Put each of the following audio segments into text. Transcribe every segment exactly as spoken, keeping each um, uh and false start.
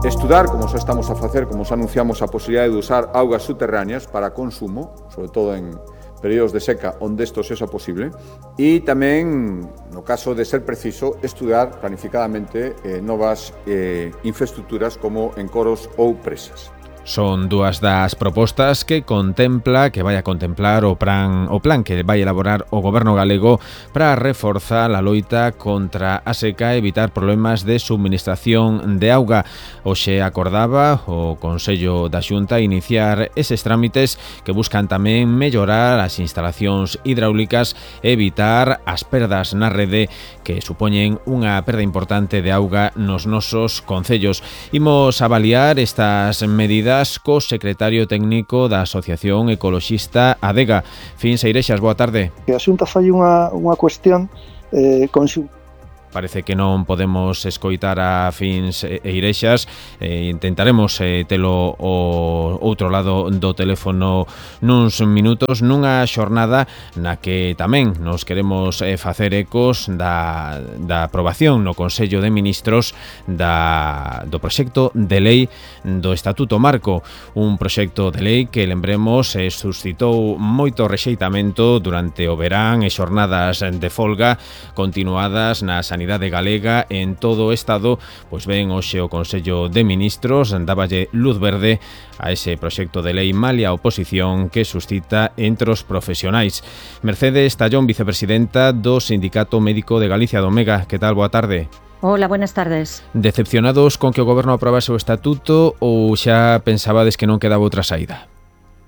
Estudar, como xa estamos a facer, como xa anunciamos, a posibilidade de usar augas subterráneas para consumo, sobre todo en períodos de seca onde isto sexa posible, e tamén, no caso de ser preciso, estudar planificadamente eh, novas eh, infraestructuras como encoros ou presas. Son dúas das propostas que contempla, que vai a contemplar o plan, o plan que vai elaborar o Goberno galego para reforzar a loita contra a seca e evitar problemas de subministración de auga. Hoxe acordaba o Consello da Xunta iniciar eses trámites que buscan tamén mellorar as instalacións hidráulicas e evitar as perdas na rede que supoñen unha perda importante de auga nos nosos concellos. Imos avaliar estas medidas co secretario técnico da Asociación Ecoloxista ADEGA. Fins Eirexas, boa tarde. A Xunta fai unha, unha cuestión eh, conxunta. Parece que non podemos escoitar a Fins Eirexas. Eh, intentaremos eh, telo o outro lado do teléfono nuns minutos, nunha xornada na que tamén nos queremos eh, facer ecos da, da aprobación no Consello de Ministros da, do proxecto de lei do Estatuto Marco, un proxecto de lei que, lembremos, eh, suscitou moito rexeitamento durante o verán e xornadas de folga continuadas na sanidade galega en todo o Estado. Pois ben, hoxe o Consello de Ministros dáballe luz verde a ese proxecto de lei malia a oposición que suscita entre os profesionais. Mercedes Tallón, vicepresidenta do Sindicato Médico de Galicia do Omega. Que tal? Boa tarde. Hola, buenas tardes. Decepcionados con que o Goberno aprobase o Estatuto ou xa pensabades que non quedaba outra saída?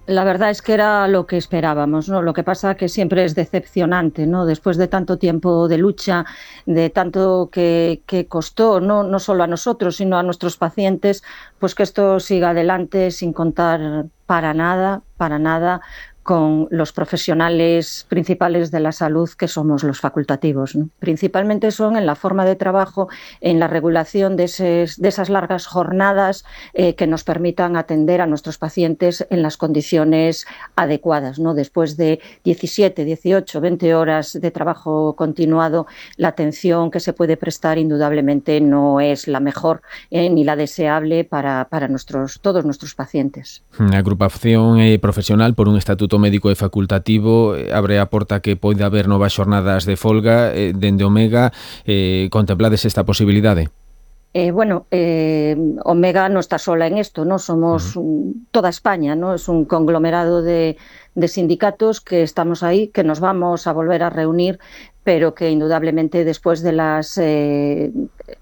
La verdad es que era lo que esperábamos, ¿no? Lo que pasa que siempre es decepcionante, ¿no? Después de tanto tiempo de lucha, de tanto que, que costó, ¿no? No solo a nosotros, sino a nuestros pacientes, pues que esto siga adelante sin contar para nada, para nada, con los profesionales principales de la salud, que somos los facultativos, ¿no? Principalmente son en la forma de trabajo, en la regulación de, eses, de esas largas jornadas eh, que nos permitan atender a nuestros pacientes en las condiciones adecuadas, ¿no? Después de diecisiete, dieciocho, veinte horas de trabajo continuado, la atención que se puede prestar indudablemente no es la mejor eh, ni la deseable para, para nuestros, todos nuestros pacientes. A agrupación eh, profesional por un estatuto médico e facultativo abre a porta que pode haber novas xornadas de folga eh, dende Omega. Eh, contemplades esta posibilidade? Eh, bueno, eh, Omega no está sola en esto, ¿no? Somos uh-huh. toda España, ¿no? Es un conglomerado de, de sindicatos que estamos ahí, que nos vamos a volver a reunir, pero que indudablemente después de las eh,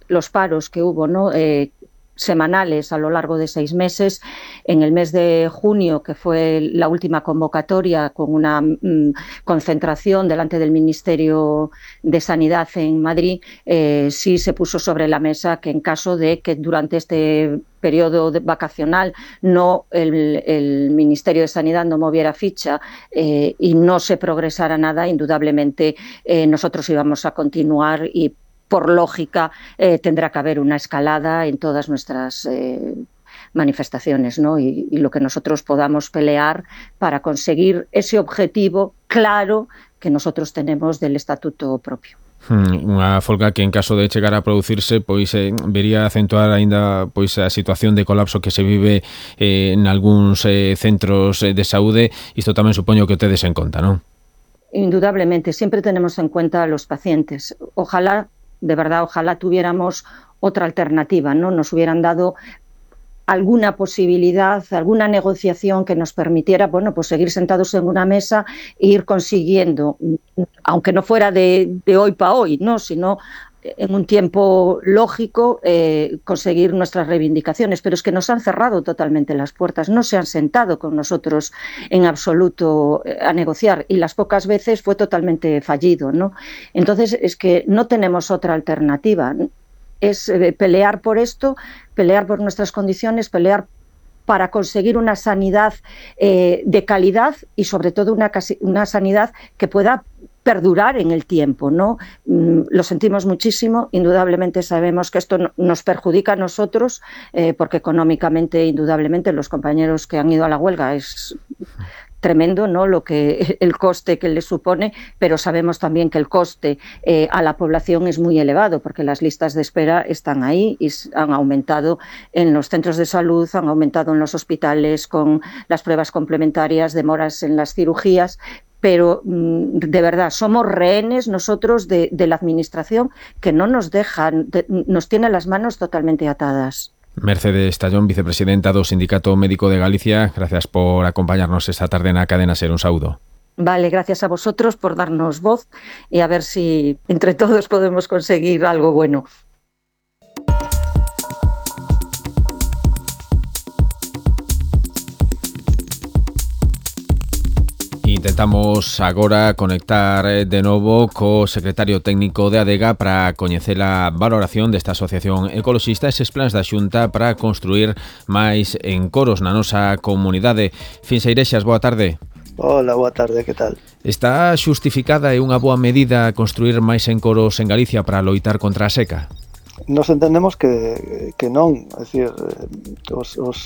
los paros que hubo, ¿no? Eh, semanales a lo largo de seis meses. En el mes de junio, que fue la última convocatoria con una mm, concentración delante del Ministerio de Sanidad en Madrid, eh, sí se puso sobre la mesa que en caso de que durante este periodo de vacacional no el, el Ministerio de Sanidad no moviera ficha eh, y no se progresara nada, indudablemente eh, nosotros íbamos a continuar y por lógica, eh, tendrá que haber una escalada en todas nuestras eh, manifestaciones, ¿no? Y, y lo que nosotros podamos pelear para conseguir ese objetivo claro que nosotros tenemos del estatuto propio. Unha folga que en caso de chegar a producirse pois eh, vería acentuar aínda pois a situación de colapso que se vive eh, en algúns eh, centros de saúde. Isto tamén supoño que o tedes en conta, non? Indudablemente, siempre tenemos en cuenta a los pacientes. Ojalá de verdad, ojalá tuviéramos otra alternativa, ¿no? Nos hubieran dado alguna posibilidad, alguna negociación que nos permitiera, bueno, pues seguir sentados en una mesa e ir consiguiendo, aunque no fuera de, de hoy para hoy, ¿no? Sino en un tiempo lógico eh, conseguir nuestras reivindicaciones, pero es que nos han cerrado totalmente las puertas, no se han sentado con nosotros en absoluto a negociar y las pocas veces fue totalmente fallido, ¿no? Entonces es que no tenemos otra alternativa, es eh, pelear por esto, pelear por nuestras condiciones, pelear para conseguir una sanidad eh, de calidad y sobre todo una, una sanidad que pueda perdurar en el tiempo, ¿no? Lo sentimos muchísimo, indudablemente sabemos que esto nos perjudica a nosotros, eh, porque económicamente, indudablemente, los compañeros que han ido a la huelga es tremendo, ¿no?, lo que el coste que le supone, pero sabemos también que el coste eh, a la población es muy elevado, porque las listas de espera están ahí y han aumentado en los centros de salud, han aumentado en los hospitales con las pruebas complementarias, demoras en las cirugías, pero de verdad somos rehenes nosotros de, de la administración, que no nos dejan, de, nos tiene las manos totalmente atadas. Mercedes Tallón, vicepresidenta do Sindicato Médico de Galicia, gracias por acompañarnos esta tarde na Cadena Ser. Un saúdo. Vale, gracias a vosotros por darnos voz y a ver si entre todos podemos conseguir algo bueno. Intentamos agora conectar de novo co secretario técnico de ADEGA para coñecer a valoración desta asociación ecoloxista, eses plans da Xunta para construir máis encoros na nosa comunidade. Fins Eirexas, boa tarde. Hola, boa tarde, que tal? Está xustificada e unha boa medida construir máis encoros en Galicia para loitar contra a seca? Nos entendemos que, que non, é dicir, os, os,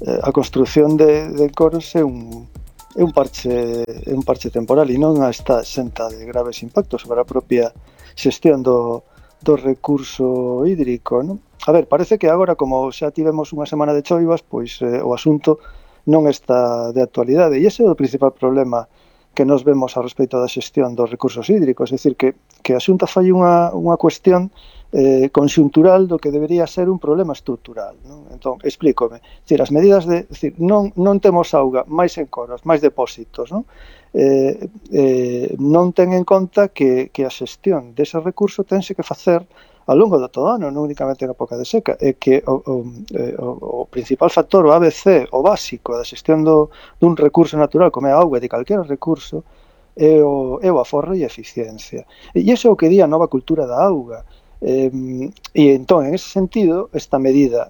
a construción de, de encoros é un é un parche é un parche temporal e non está exenta de graves impactos sobre a propia xestión do, do recurso hídrico, non? A ver, parece que agora, como xa tivemos unha semana de choivas, pois eh, o asunto non está de actualidade, e ese é o principal problema que nos vemos a respecto da xestión dos recursos hídricos, é dicir, que, que a Xunta fai unha, unha cuestión eh, conxuntural do que debería ser un problema estrutural, non? Entón, explícome, dicir, as medidas de, dicir, non, non temos auga, máis encoros, máis depósitos, non? Eh, eh, non ten en conta que, que a xestión dese recurso tense que facer ao longo do todo ano, non únicamente na época de seca, é que o, o, o, o principal factor, o A B C, o básico da xestión do, dun recurso natural, como é a auga, de calquera recurso, é o, é o aforro e a eficiencia. E iso é o que di a nova cultura da auga. Eh, e entón, en ese sentido, esta medida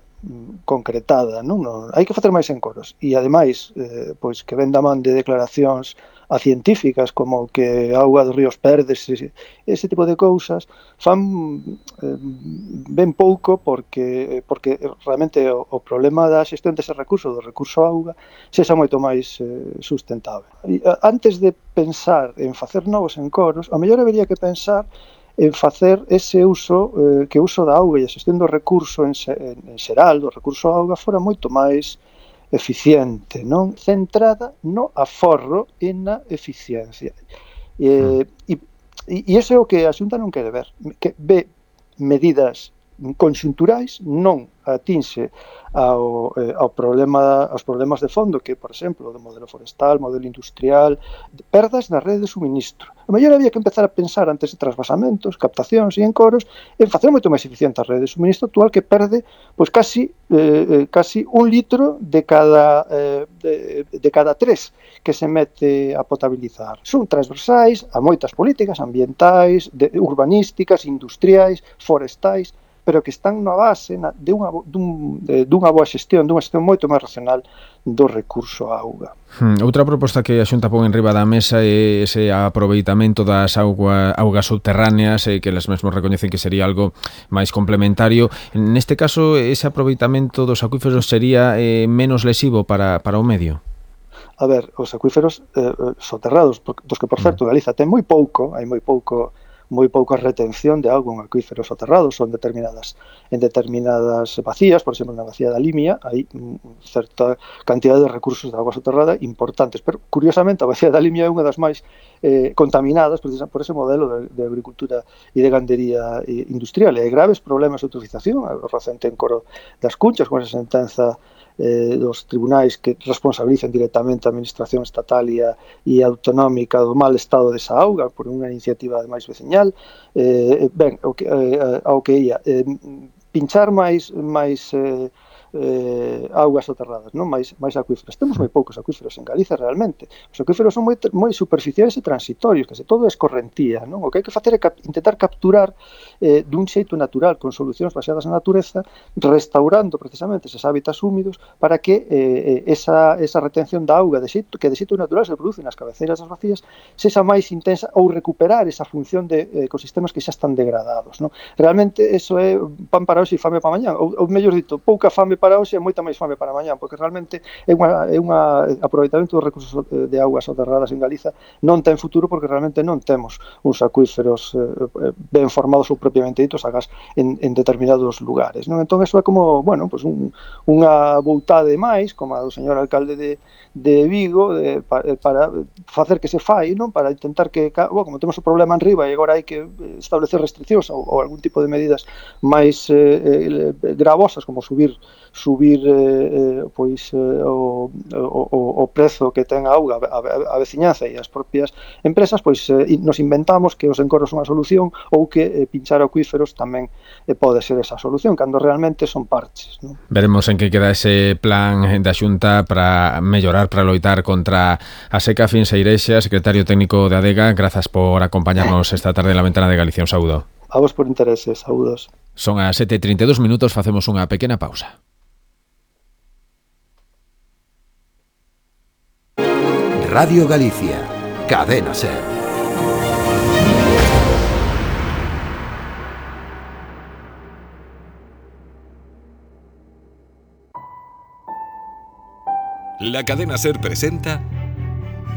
concretada, non? Non, hai que facer máis encoros e ademais, eh, pois que ven da man de declaracións a científicas como que a auga dos ríos perdes, ese, ese tipo de cousas fan eh, ben pouco porque porque realmente o, o problema da xestión dese recurso, do recurso auga, sexa moito máis eh, sustentable. E, antes de pensar en facer novos encoros, a mellor habería que pensar en facer ese uso, eh, que o uso da auga e a xestión do recurso en, en, en xeral, do recurso auga, fora moito máis eficiente, non? Centrada no aforro e na eficiencia. E, e, e iso é o que a Xunta non quere ver, que ve medidas conxunturais, non atinse ao, eh, ao problema, aos problemas de fondo, que, por exemplo, do modelo forestal, modelo industrial, perdas na rede de suministro. A mellor había que empezar a pensar antes de trasvasamentos, captacións e encoros, en facer moito máis eficiente a rede de suministro actual, que perde pois casi eh, casi un litro de cada eh, de, de cada tres que se mete a potabilizar. Son transversais a moitas políticas ambientais, de, urbanísticas, industriais, forestais, pero que están na base na, de unha, dun, de, dunha boa xestión, dunha xestión moito máis racional do recurso á auga. Hmm, outra proposta que a Xunta pon en riba da mesa é ese aproveitamento das auga, augas subterráneas, eh, que elas mesmos recoñecen que sería algo máis complementario. Neste caso, ese aproveitamento dos acuíferos sería eh, menos lesivo para, para o medio? A ver, os acuíferos eh, soterrados, dos que, por certo, Galiza ten moi pouco, hai moi pouco moi pouca retención de auga en acuíferos soterrados, son determinadas en determinadas vacías, por exemplo, na vacía da Limia, hai certa cantidad de recursos de auga soterrada importantes, pero curiosamente a vacía da Limia é unha das máis eh, contaminadas precisamente por ese modelo de, de agricultura e de gandería industrial, e hai graves problemas de eutrofización, o recente encoro das Cunchas, con esa sentenza Eh, dos tribunais que responsabilizan directamente a administración estatal e, a, e autonómica do mal estado desa auga por unha iniciativa máis veciñal. Eh, ben, o que, eh, ao que ia, eh, pinchar máis máis eh, eh, augas soterradas, non? máis, máis acuíferos. Temos moi poucos acuíferos en Galiza realmente. Os acuíferos son moi, moi superficiais e transitorios, que se todo é escorrentía, non? O que hai que facer é cap intentar capturar eh, dun xeito natural, con solucións baseadas na natureza, restaurando precisamente eses hábitats húmidos para que eh, esa, esa retención da auga de xeito, que de xeito natural se produce nas cabeceiras das vacías sexa máis intensa ou recuperar esa función de eh, ecosistemas que xa están degradados, non? Realmente eso é pan para hoxe e fame para mañá, ou, ou mellor dito, pouca fame para para hoxe e moita máis fame para mañá, porque realmente é unha, é unha aproveitamento dos recursos de augas soterradas en Galiza non ten futuro, porque realmente non temos uns acuíferos eh, ben formados ou propiamente ditos a gas en, en determinados lugares, non? Entón, eso é como, bueno, pues un, unha voutade máis, como a do señor alcalde de, de Vigo, de, para, para facer que se fai, non? Para intentar que, bueno, como temos o problema en riba e agora hai que establecer restriccións ou, ou algún tipo de medidas máis eh, gravosas, como subir subir eh, pois eh, o, o, o prezo que ten a auga a, a, a veciñanza e as propias empresas, pois eh, nos inventamos que os encoros son a solución ou que eh, pinchar acuíferos tamén eh, pode ser esa solución, cando realmente son parches, non? Veremos en que queda ese plan da Xunta para mellorar, para loitar contra a seca. Fins Eirexas, secretario técnico de ADEGA, grazas por acompañarnos esta tarde en la Ventana de Galicia. Un saúdo. A vos por interese, saúdos. Son as sete e trinta e dous minutos, facemos unha pequena pausa. Radio Galicia, Cadena SER. La Cadena SER presenta